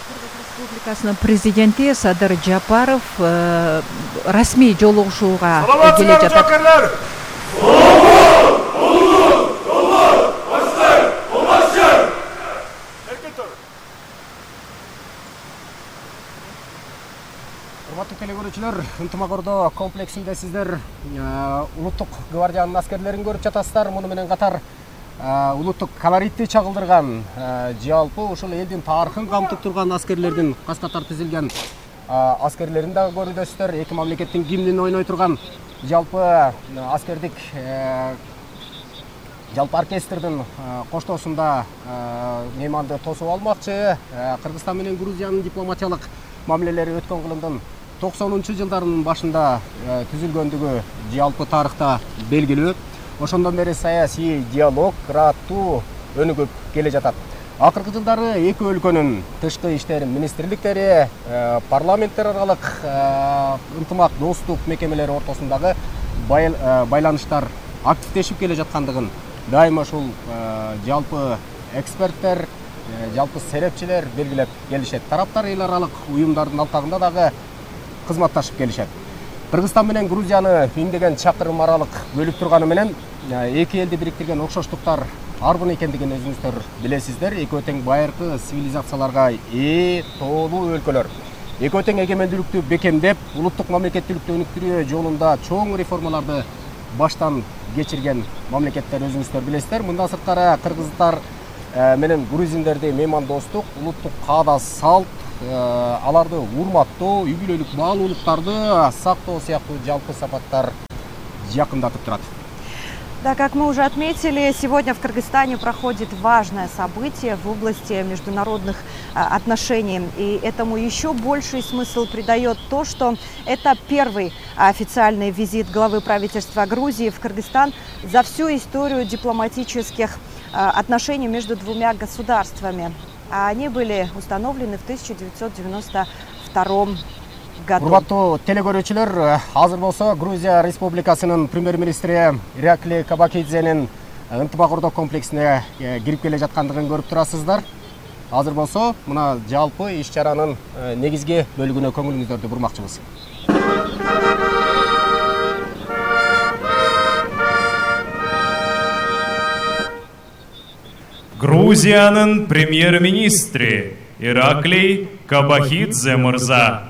Республикасынын президенти Садыр Жапаров расмий жолугушууга келе жатат. Урматтуу телекөрүүчүлөр, Ынтымак Ордо комплексинде сиздер улуттук гвардиянын аскерлерин көрүп жатасыздар. Муну менен катар улуттук колоритти чагылдырган, жалпы ушул элдин тарыхын камтып турган аскерлердин кас катар тизилген аскерлерин дагы көрүдөсүздөр. Эки мамлекеттин гимнин ойной турган жалпы аскердик жалпы оркестрдин коштоосунда мейманды тосуп алмакчы. Кыргызстан менен Грузиянын дипломатиялык мамилелери өткөн кылымдын 90-жылдарынын башында түзүлгөндүгү жалпы тарыхта белгилүү. Ошондон бери саясий диалог кыраттуу өнүгүп келе жатат. Акыркы жылдары эки өлкөнүн тышкы иштер министрликтери, парламенттер аралык ынтымак достук мекемелери ортосундагы байланыштар активдешип келе жаткандыгын дайыма ушул жалпы эксперттер, жалпы серепчилер белгилеп келишет. Тараптар эл аралык уюмдардын алкагында дагы кызматташып келишет. Кыргызстан менен Грузияны миңдеген чакырым аралык бөлүп турганы менен эки элди бириктирген окшоштуктар арбын экендигин өзүңүздөр билесиздер. Экөө тең байыркы цивилизацияларга ээ тоолуу өлкөлөр. Экөө тең эгемендүүлүктү бекемдеп, улуттук мамлекеттүүлүктү өнүктүрүү жолунда чоң реформаларды баштан кечирген мамлекеттер өзүңүздөр билесиздер. Мындан сырткары кыргыздар менен грузиндерди меймандостук, улуттук каада салт, аларды урматтоо, үй бүлөлүк баалуулуктарды сактоо сыяктуу жалпы сапаттар жакындатып турат. Да, как мы уже отметили, сегодня в Кыргызстане проходит важное событие в области международных отношений. И этому еще больший смысл придает то, что это первый официальный визит главы правительства Грузии в Кыргызстан за всю историю дипломатических отношений между двумя государствами. Они были установлены в 1992 году. Урматтуу телекөрүүчүлөр, азыр болсо Грузия Республикасынын премьер-министри Иракли Кабакидзенин Ынтымак Ордо комплексине кирип келе жаткандыгын көрүп турасыздар. Азыр болсо мына жалпы иш-чаранын негизги бөлүгүнө көңүлүңүздөрдү бурмакчыбыз. Грузиянын премьер-министри Ираклий Кабакидзе мырза.